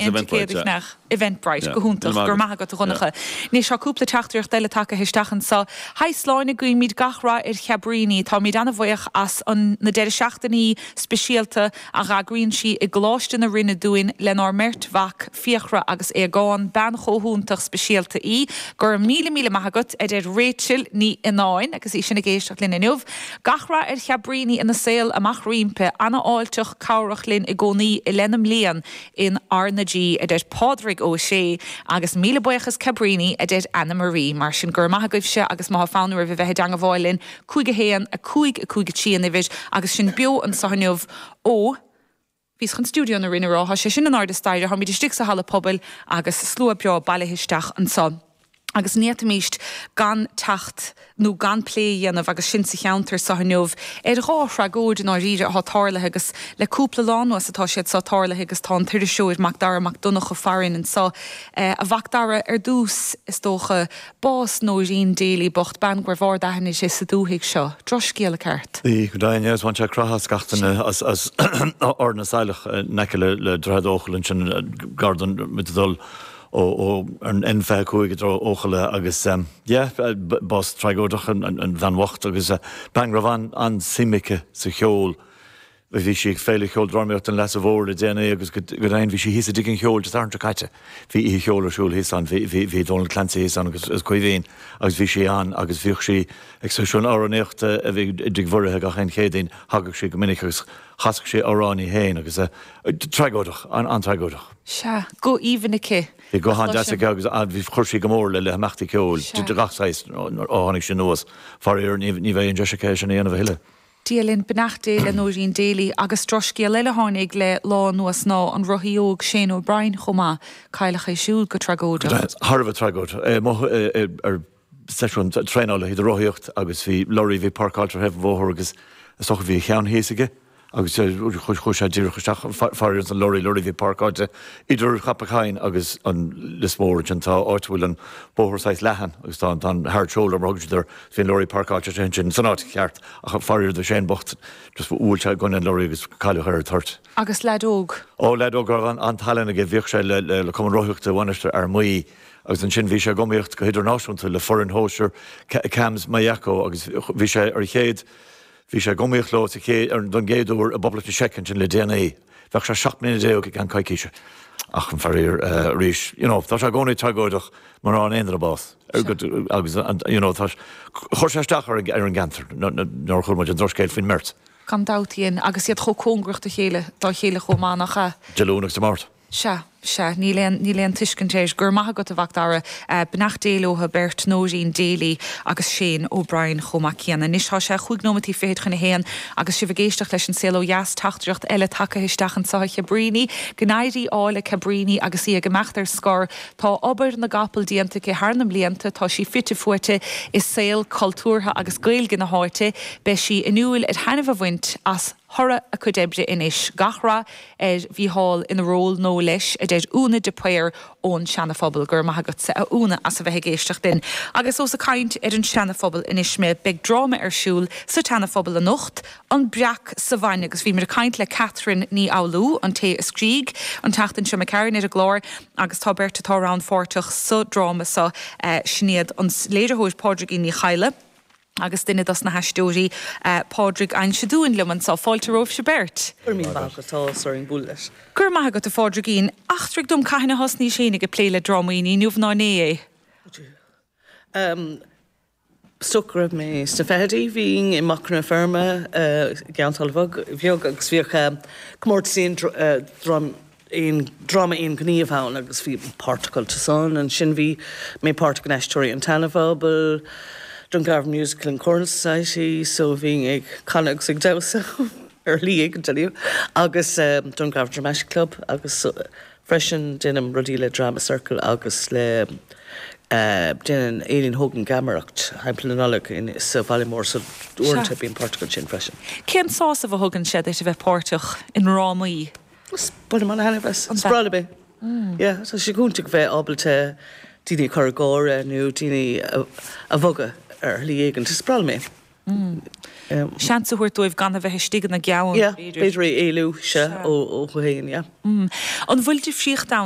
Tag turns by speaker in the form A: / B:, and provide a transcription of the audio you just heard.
A: 1 ticéad a cheannach. Eventbrite. Go hiontach. Go raibh maith agat, a Dhonncha. Anois, tá cúpla teachtaireacht eile tagtha isteach anseo. Haigh Sláine, guímid gach rath ar Chabríní. Táimid an-bhuíoch as an na deireadh seachtainí speisialta a dh'eagraíonn sí i gColáiste na Rinne dúinn lenár mbeirt mhac, Fiachra agus Aogán. Bean chomh hiontach speisialta í. Go raibh míle míle maith agat, a deir Rachel Ní Fhionnáin agus í sin ag éisteacht linn inniu. Gach rath ar Chabríní ina saol amach roimpi. Ana-fháilteach, cabhrach linn i gcónaí i leith na mblian in R na G, a deir Pádraig Ó Sé, agus míle buíochas Cabríní, a deir Anna Marie. Mar sin, go raibh maith agaibhse agus má thá fonn oraibh a bheith i dteangabháil linn, 5 1, 5 5 3 an uimhir, agus sinn beo anso inniu ó, bhíos chun Stiúideo na Rinne a rá, thá sé sin in airde staighre, tháimid istigh sa halla pobail agus slua breá bailithe isteach anso. Agus ní fhéadfaimíst gan teacht nó gan plé a dhéanamh, agus sinn sa cheantar so inniu, ar dhá thragóid i ndáiríre athá tarlaithe agus le cúpla lá anuas atá siad so tarlaithe agus tá an t-iriseoir Mac Dara Mac Donncha farainn anso. A Mhac Dara, ar dtús, is dócha, bás Nóirín Daly bocht, bean go raibh ard-aithne uirthi sa dúthaigh seo. Drochscéala ceart.
B: Bhí, go deimhin, yes, bhain sé croitheadh as gach duine as Ard na Saileach in aice le Droichead Eochaille ansin, gar don, muid ag dul ó an N25 i dtreo Eochaille agus yeah, bás tragóideach an bhean bhocht agus bean go raibh an-suim aici sa cheol. Bhí sí ag Féile Cheoldrámaíochta an Leasa Mhóir le déanaí agus go deimhin bhí sí thíos i dTigh an Cheoil Dé Sathairn seo caite. Bhí oíche cheoil ar siúl thíos ann, bhí Dónal Clancy thíos ann agus Caoimhín agus bhí sí ann agus bhíodh sí ag seisiún amhránaíochta a bhí i dTigh Mhuirithe gach aon Chéadaoin, thagadh sí go minic agus chasadh sí amhráin í féin agus tragóideach, an-tragóideach.
A: Sea, guth aoibhinn aici.
B: Bhí guth an-deas aici agus chuir sí go mór le himeachtaí ceoil de gach saghas ó tháinig sí anuas. Faraor, ní bheidh an deis aici é sin a dhéanamh a thuilleadh.
A: Dia linn, beannacht Dé le Nóirín Daly. Agus drochscéal eile a tháinig le lá anuas ná an rothaí óg Shane O'Brien chomh maith. Cailleadh é siúd go tragóideach.
B: Thar a bheith tragóideach. É amuigh ar seisiún traenála do rothaíocht agus bhí lorry a bhí páirceáilte ar thaobh an bhóthair agus is dócha bhí a cheann thíos aige. Agus chuaigh sé díreach isteach, faraor, ins an lorry, lorry a bhí páirceáilte idir Cnapán Chaim agus an Lios Mór ansin. Tá áit a bhfuil an bóthar saghas leathan agus tá an hard shoulder mar a thugann siad air. Bhí an lorry páirceáilte ansin san áit cheart ach faraor do Shane bocht just bhuail sé i gcoinne an lorry agus cailleadh é ar an toirt.
A: Agus leaid óg.
B: Ó, leaid óg a raibh an-tallann aige. Bhíodh sé le Cumann Rothaíochta Mhainistir Fhear Maí agus ansin bhí sé ag iomaíocht go hidirnáisiúnta le foireann shóisir CAMS Maigh Echo agus bhí sé ar an chéad Bhí sé ag iomaíocht leo sa chéad, don gcéad uair i bPoblacht na Seice ansin le déanaí. Bheadh sé 17 mbliana i gceann coicíse. Ach faraor, arís, you know, tá sé i gcónaí tragóideach mura bhfaigheann aon duine bás. Agus, you know, tá, chuir sé isteach ar an gceantar nuair a chuala muid an drochscéal faoin mbeirt.
A: Gan dabht, a dhein, agus iad chomh cóngarach do chéile, dá chéile chomh maith, nach ea?
B: Dé Luain agus Dé Máirt.
A: Sea, sea, níl aon, níl aon tuiscint air. Go raibh maith agat, a Mhac Dara. Beannacht Dé leo beirt, Nóirín Daly agus Shane O'Brien chomh maith céanna. Anois tá sé chúig nóimeataí fichead chun a haon agus sibh ag éisteacht leis An Saol Ó Dheas, teachtaireacht eile tagtha isteach anseo a Chabríní. Go n-éirí ádh le Cabríní agus í ag imeacht ar scor. Tá obair na gcapall déanta aici thar na mblianta, tá sí fite fuaite i saol cultúrtha agus Gaeilge na háite. Beidh sí inniúil ar thaitneamh a bhaint as thoradh a cuid oibre anois. Gach rath ar Mhícheál ina ról nó leis, a deir Úna de Paor ón Seana-Phobal. Go raibh maith agatsa, a Úna, as a bheith ag éisteacht linn. Agus ós ag caint ar an Seana-Phobal anois mé, beidh dráma ar siúl sa tSeana-Phobal anocht, An Breac sa Bhainne, agus bhíomar ag caint le Catherine Ní Fhoghlú, an té a scrígh, an tseachtain seo imigh tharainn ar an gclár, agus tá beirt atá rannpháirteach sa dráma seo, sin iad an léiritheoir Pádraigín Ní Chadhla, Agus duine dos na haisteoirí, Pádraig Uinseann Dúin liom anseo. Fáilte romhaibhse beirt.
C: Go raibh míle maith agat, tá áthas orainn bualadh leat.
A: Go raibh maith agat, a Phádraigín. Eachtraigh dom cathain a thosnaís fhéinig ag plé le drámaí, ní inniu ná inné é.
C: Is dócha go raibh mé sna fichidí, bhínn i Macra na Feirme i gCeann Sáile Bheag agus bhíodh comórtas aon aon dráma aon ghníomh ann agus bhí páirteach iontu san. Ansin bhí mé páirteach in Aisteoirí an tSeana-Phobail, Dungarvan Musical and Choral Society, so bhínn ag canadh agus ag damhsa ar shlí éigin tell you, agus Dungarvan Dramatic Club agus freisin déanaim rudaí le Drama Circle agus le déanann Aileen Hogan geamaireacht thimpeall na Nollag in sa Bhaile Mór so uaireanta bím páirteach ansin freisin.
A: Cén sásamh a thugann sé duit a bheith páirteach i ndrámaí?
C: Bainim an-thaitneamh as. Is breá liom é. Yeah, tá sé go hiontach bheith ábalta daoine a chur ag gáire nó daoine a bhogadh ar shlí éigin. Is breá liom é.
A: Seans a thabhairt dóibh gan a bheith istigh ina gceann,
C: b'fhéidir. Yeah, b'fhéidir é éalú, sea, ó féin, yeah.
A: An bhfuil difríocht ann?